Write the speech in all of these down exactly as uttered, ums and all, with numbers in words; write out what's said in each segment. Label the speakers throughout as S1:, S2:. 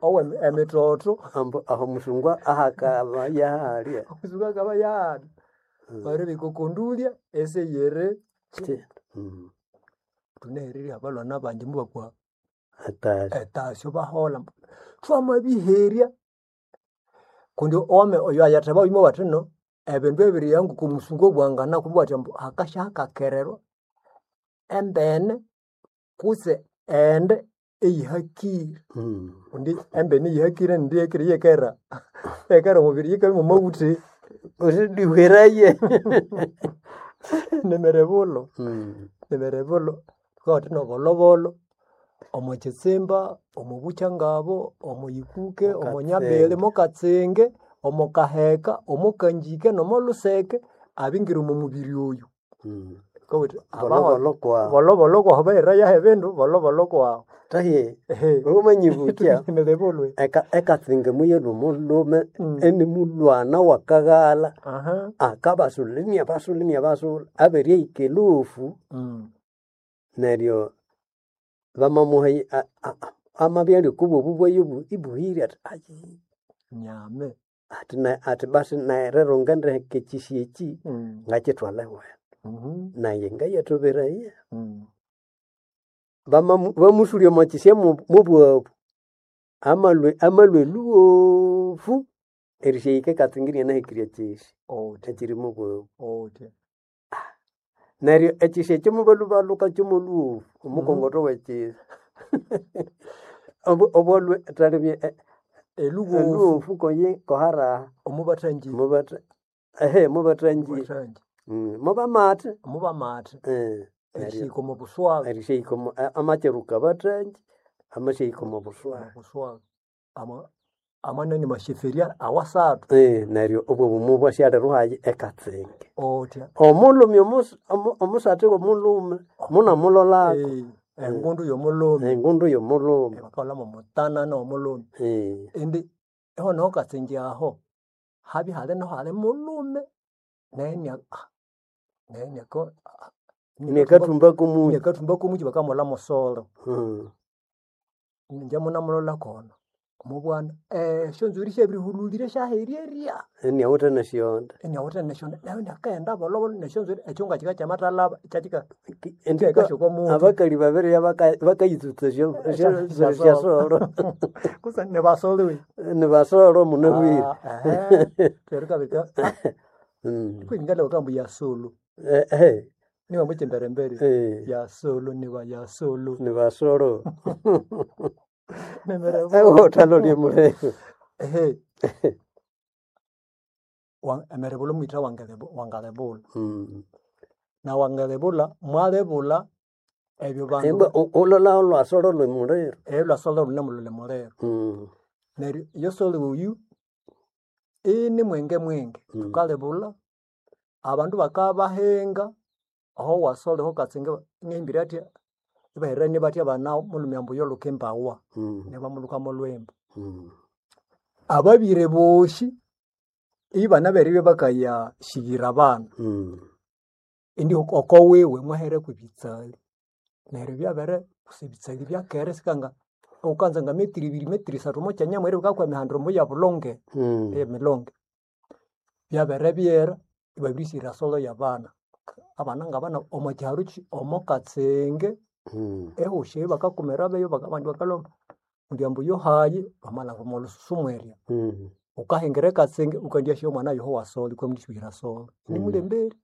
S1: owe emitoto
S2: Ambu aho musungu ahakaba yahalya.
S1: Omusungu akaba yahalya. Babiribika okondulya esiyiri
S2: Ki- Mm.
S1: thunehererye abalhwana bangi mubakwa
S2: Hatari.
S1: etasyo baholha thwamabiherya kundi owame oyo ayatheba oyuma bathino ebindu ebiriya ngoko omusungu obwangana kubwa athi ambu hakasya hakakererwa embene kutse ende eyihakire
S2: Mm.
S1: kundi embene eyihakire nindi eyihakire yekera yekera omubiri yikabya mwamaghutha
S2: Usidihweraye.
S1: nemirebulo
S2: Mm.
S1: nemirebulo thukawathina obolobolo omo kitsimba omo bukyangabo omo yikuke omo nyabili
S2: Mukatsinge.
S1: mukatsinge omo kaheka omo kanjike nomo luseke abingira omo mubiri oyu
S2: Mm.
S1: Thukawatha abaho
S2: Bolobolo kwawu.
S1: bolobolo kwahu baherayaho ebindu bolobolo kwahu
S2: Tahiye.
S1: Ehe.
S2: Wamanyibukya.
S1: Nemirebulo
S2: Eka ekatsinge muyelwa omulhume
S1: Mm.
S2: enimulhwana wakaghala
S1: aha
S2: akabasulha iniabasulha iniabasulha abirihika elufu
S1: Mm.
S2: neryo bamamuha a- a- amabya ali okubwobu bwayo ibuhire athi ayi
S1: nyame
S2: athi na- athi basi nerero ngendiheka ekyisi eki
S1: Mm.
S2: ngakyithwala ewethu
S1: Mhm.
S2: naye ngayathoberaya
S1: Mm.
S2: Bamamu- bamusulya omo kyisya mu- mubwabu amalwe amalwe lhuwofu erisyahika ekatsinga inianahikirya kyisi
S1: Otya
S2: ekyiri mubwabu
S1: otya
S2: neryo ekyisi ekyo mubalhubalhuka kyomolhuwofu omukongotho wekyisi Obu- obwalwe thalibye e-
S1: eluwofu
S2: elhuwofu koyi koharaha
S1: omubathangi
S2: mubatha ehe mubathangi
S1: mubathangi
S2: Mm, mubamathe
S1: mubamathe
S2: Eh, neryo
S1: erihika omu buswaga
S2: erishahika omu- a- amakyeruka abathangi amashahika omu buswaga
S1: buswaga ama amanani masheferia awasathu
S2: Eh, neryo obwo bumu bwasyalirwayo ekatsinge
S1: otya
S2: omulhume omus- omu- omusatha womulhume munamulolako
S1: Eh, engundu yomulhume
S2: engundu yomulhume
S1: bakaghulhamu omutanana womulhume
S2: Eh,
S1: indi ihonaho katsinge aho habya hali naho hali mulhume naye inia- ah, naye iniaka- ah,
S2: inakathumba komuyi
S1: iniakathumba komuki bakamulha musolo
S2: Mm.
S1: inje munamulola kona omubwana esyonzwiri syabirihululire syahererya
S2: iniawithe nesyonda
S1: iniawithe nesyonda nayo iniakaghenda bolobolo nesyonzwiri ekyunga kika kyamathalaba ikyakika
S2: Indi
S1: kyahika syokomuthi
S2: abakali babiri bakayitsutsa
S1: Esya-
S2: syasolo
S1: syasolo. Kutse nibasoliwe
S2: nibasolo munabwire
S1: terikabika
S2: Mm.
S1: kwingala bakambu ya solo
S2: Eh, eh,
S1: niba mukyimberembere
S2: eh,
S1: ya solo niba ya solo
S2: nibasolo
S1: nemerebo
S2: othalolye muleru
S1: ehe Wa- emerebula omwitha wangelebo- wangalebula
S2: Mm.
S1: na wangalebula mwalebula ebyo bandu
S2: Embwa u- ulola olwasolo lwemuliro
S1: elwasolo lune mulule muliro
S2: Mm.
S1: neryo yosolo oyu ini mwenge mwenge
S2: Mm.
S1: thukalebula abandu bakabahenga aho wasole ho katsinge ngehimbire athya ibahereranie bathya bana mulhume ambu yoluka embawa
S2: Mm.
S1: nibamulhuka molwemba
S2: Mm.
S1: ababire bosi ibana beribya bakayashighira abana
S2: Mm.
S1: indi oko wiwe mwahereku ebitsali neryo byabere kusa ebitsali byakere sikanga wukanza nga metiri ibiri metiri isathu omo kyanya mweri bukakwa emihandro ya bulonge
S2: Mm.
S1: emilonge byabere byera ibabirisighira solo yabana abana ngabana omo kyaro ki omo katsinge
S2: Mm.
S1: ehosi eyo bakakumira beyo baka- abandi bakalhwa mundi ambu yohayi bamalhanga omo lususu mwerya
S2: Mm.
S1: wukahingira ekatsinge wukandyasya omwana yoho wasolo ikwamundishuhira solo
S2: Mm.
S1: nimulemberi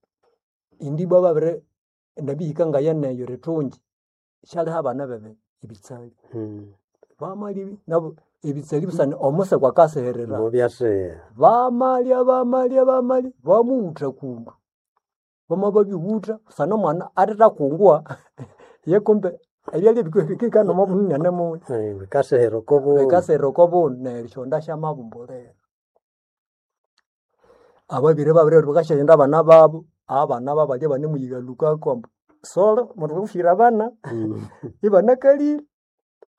S1: indi ibwa babiri nabihika ngayeneyo erithungi syaliha abana bebe ebitsali
S2: Mm.
S1: bamalya nabo ebitsali busana omusekwa akasiherera
S2: Mubyasiha
S1: bamalya bamalya bamalya bamuwutha kundu bamababiwutha busana omwana athethakunguwa ye kumbe ebyalya bikihikana omo bunene muni
S2: Eh, bikasihira okobundu
S1: bikasihira okobundu neryo esyonda syamabumbulira ababiri babiri bakasyaghenda abana babu abana babalya ibanemuyighalukako ambu solo mundu wukushira abana
S2: Mm.
S1: ibanakalire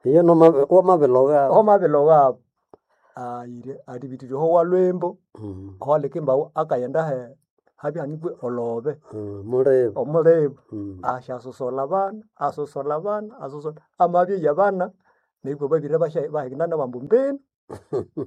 S2: Iyo noma- wamabilogha
S1: omabiloghabu ayire athibitire oho walwembo
S2: Mm.
S1: owaleka embawu akaghenda he habya hanikwe olhobe
S2: Mm. Mulibu
S1: omulibu
S2: Mm.
S1: asyasosola abana asosola abana asosola amabya yabana Neryo babiri basha bahina nabambu mbenu.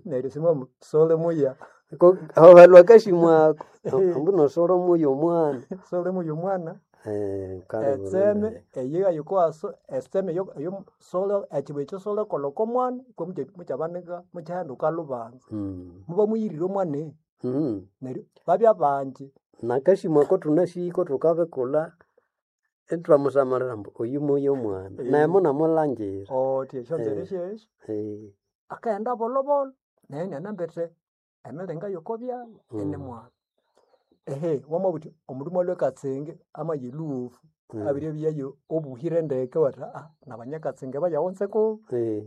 S1: Neryo simwa sole muya.
S2: Ko aho halwa kashimwako ambu nosolo muyo omwana.
S1: Sole muya omwana.
S2: Eh, kale
S1: Etseme eyiga yikwaso eseme yo yo sole ekibu ekyo sole koloko omwana kwa mukyabanika mukyahenduka lubanza.
S2: Mm.
S1: Muba muyirire omwana
S2: Mm.
S1: neryo babya bangi.
S2: Nakashimwako tunashiko tukabikula itwamusamalira ambu oyu muyo omwana.
S1: Eh.
S2: Nemo namulangira.
S1: Oti esyonzere
S2: Eh.
S1: syesyo.
S2: Eh.
S1: Akaghenda bolobolo naye inanambethe emiringa yokobyalha
S2: Mm.
S1: inimwana. Ehe wamabugha wuthi omundu mwalhwa ekatsinge amaya elhuwofu
S2: Mm.
S1: abiryabyayo obuhire ndeke iwathi aa nabanyakatsinge bayaghunzeko.
S2: Eh.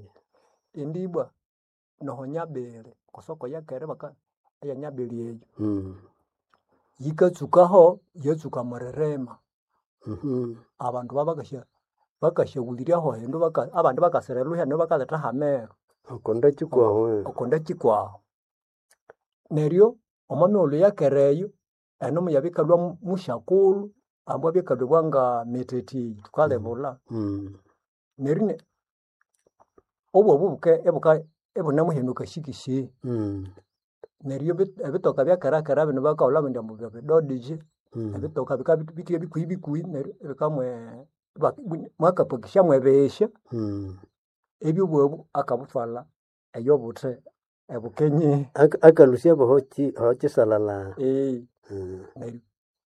S1: Indi ibwa noho nyabiri okwa soko eyakere baka eyanyabiri eyo.
S2: Mm.
S1: Yikatsukaho yatsuka omwiririma.
S2: Mhm.
S1: Abandu babakasya bakasyawuliryaho hindu baka abandi bakasira elhuhya neryo bakaletha hameru.
S2: Okonda kikwahu.
S1: Okonda kikwahu. Neryo omo mighulhu eyakera eyo eno muyabikalhwa musyakulhu ambu abyakalhwa nga methethiyi thukalibulha.
S2: Mm.
S1: Neryo ine obwobu buke ibuka ibunemuhina shikisi.
S2: Mm.
S1: Neryo ebi- ebitoka byakerakera bino bakahulha indi ambu byebidodiji.
S2: Mm.
S1: Ebitoka bikabya bithe bikuhi bikuhi neryo ibikamwe mwakapakisya mwebihya.
S2: Mm.
S1: Ebyobwabu akabuthwalha eyobuthe ebukenye.
S2: Aka- Akalusya bohoki hokisalala.
S1: Eh.
S2: Mm.
S1: Neryo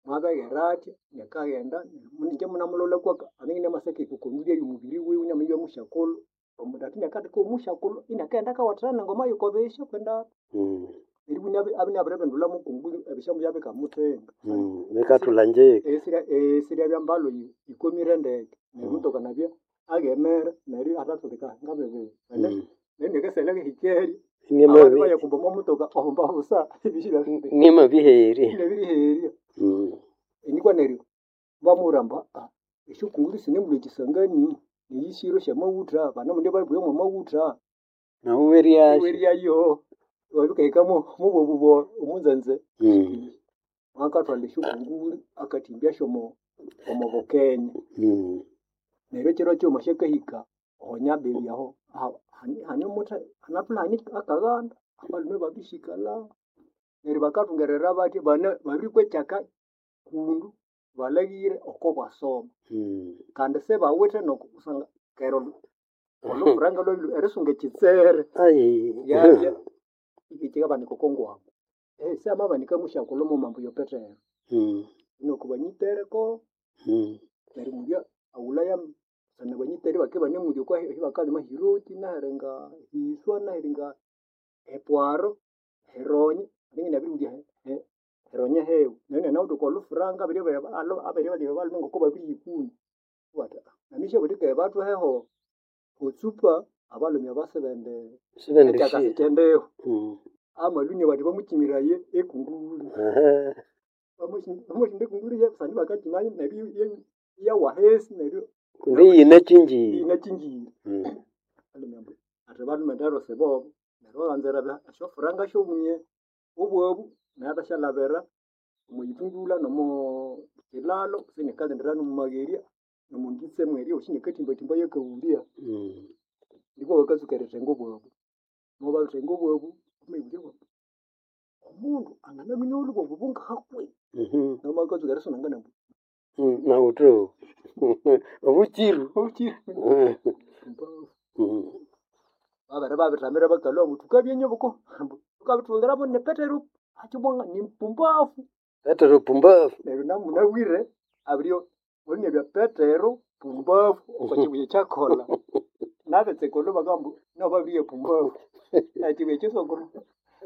S1: mwabeghera athya nakaghenda ingye munamulola kwaka amabya inamasaka erikondulya omubiri wiwe inaminya musyakulhu omundu athi inakatheka omusyakulhu inakaghenda akawathana nengoma yokobihya kwenda
S2: Mm.
S1: neryo abya inabiribindulha mukungulu ebisya mubyabikamuthenga.
S2: Mm. Bikathulha njeka.
S1: Esirya esiryabya mbalhu yikomire ndeke neryo
S2: Mm.
S1: omutoka nabya aghemera neryo athathulika ngabibiri.
S2: Mm.
S1: Neryo nakasalya ngahikeri abandu
S2: Nimabi
S1: bayakumba omo mutoka omba busa ebisya
S2: nimabiherya.
S1: inabiriherya.
S2: Mm.
S1: Inikwa neryo bamubwira ambu aa esyokunguru sinemulhwa ekisangani neyisiro syamawutha banamunde babughe mwamawutha.
S2: Nahu weryasyo.
S1: Iweryayo wabikahika mubwobu bwo omunzanze.
S2: Mm.
S1: Mwakathwalha esyokunguru akathimbya omo omo Bukenya.
S2: Mm.
S1: Neryo ekiro kighuma syakahika oho nyabiri aho hane omuthe hanathulha hane akaghanda abalhume babisikalha. Neryo bakathungerera bathya bana babirikwa ekyaka kundu balhaghire oko bwasoma.
S2: Mm.
S1: Kandi sibawithe nokusanga kera olhufuranga lwabya erisunga ekitsere
S2: Ai.
S1: lyabya ikikabanika oko ngwangwa. Syamabanika musyakulhu mughuma ambu yo Petero.
S2: Mm.
S1: Nuku banyitereko
S2: Mm.
S1: neryo mulya aghulhaya sana banyitere bakibya ibanemulya okwa ebakalima hiroti nahiringa hiswa nahiringa epwaro heronye ningi inabiribulya heronye hewe. Neryo inanawithe oko lhufuranga abiribya balhume ngoko babiriyikuna. Iwathi namisyabuthike bathuheho otsupa abalhume aba sibende
S2: Sibende
S1: ekyaka
S2: shi.
S1: sikyendiho.
S2: Mm.
S1: Amalhunia bathi bamukyimiraye ekunguru.
S2: Ehe.
S1: Bamushinda ekunguru kusangwa ibakakyimayo neryo iyawa ahisi neryo
S2: Kundi yinakyinjire.
S1: iyinakyingire.
S2: Mm.
S1: Abalhume athi balhume ndero sibobo. Neryo babanza erilabya esyofuranga syomunye obwabu nayo athasyalhabira omwithungulha nomo kilhalo isinikaghendera nomwamagherya nomwangitse mwerya osi inakathimbathimba yakawulya.
S2: Mm.
S1: Nikwa bakatsuka erithenga obwabu. Mobabithenga obwabu wamabulya omundu anganaminya olhubwabu bungahakwi?
S2: Mhm.
S1: Neryo bakatsuka erisunangana ambu
S2: Mm. Nawuthu. Obukiru.
S1: obukiru.
S2: Mm.
S1: Pumbafu.
S2: Mm.
S1: Babere babithamira bakalhwa ambu thukabya nyobuko ambu thukabithuliramu ni Petero akyibwanga ni pumbafu.
S2: Petero pumbafu.
S1: Neryo namunabwire abiryo mulinabya Petero pumbafu oko kibuya ekyakolha. Nabetsekulhu bakabugha ambu nabo babiribya pumbafu. Ekibuya ekyisokulhu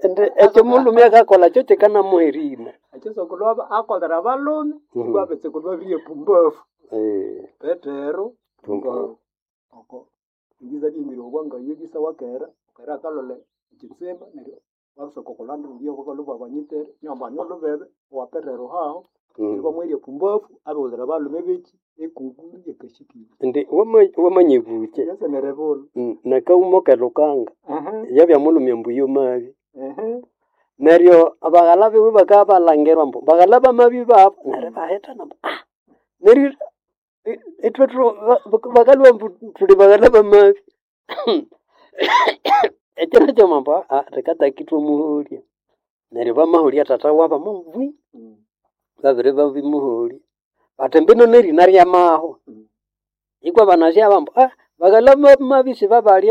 S2: Ende ekyo mulhume akakolha kyo kyikanamuherina.
S1: ekyisokulhu akolera abalhume
S2: Mm.
S1: ibwa abetsekulhu babiribya pumbafu.
S2: Eh.
S1: Petero
S2: Pumbafu.
S1: pumbafu. Oko ibiza byimire obwangayo bisawakera kera akalolha ekitsimba neryo babisoka oko lhwanda olhuya bakalhwa banyitere inabamba hane olhubebe owa Petero haho neryo
S2: Mm.
S1: ibamweherya pumbafu abighulhira abalhume beki ekunguru yakashikire.
S2: Indi wama wamanyibukye.
S1: Yasemere bulhu.
S2: Mm. Nakawuma kelukanga.
S1: Ehe.
S2: Yabya mulhume ambu yomabi.
S1: Ehe.
S2: Neryo abaghala biwe bakabya balhangirwa ambu baghala bamabi babo neryo ibahithana ambu ah neryo ithwe bakalhwa ambu thuli baghala bamabi. Ekiro kyoma ambu rikataka ithwamuholya. Neryo bamaholya tata wabo amabwi, babere babimuholya, bathi mbino nerina ryamahwa. Ikwa banasi abo ambu baghalha bamabya isibabalya.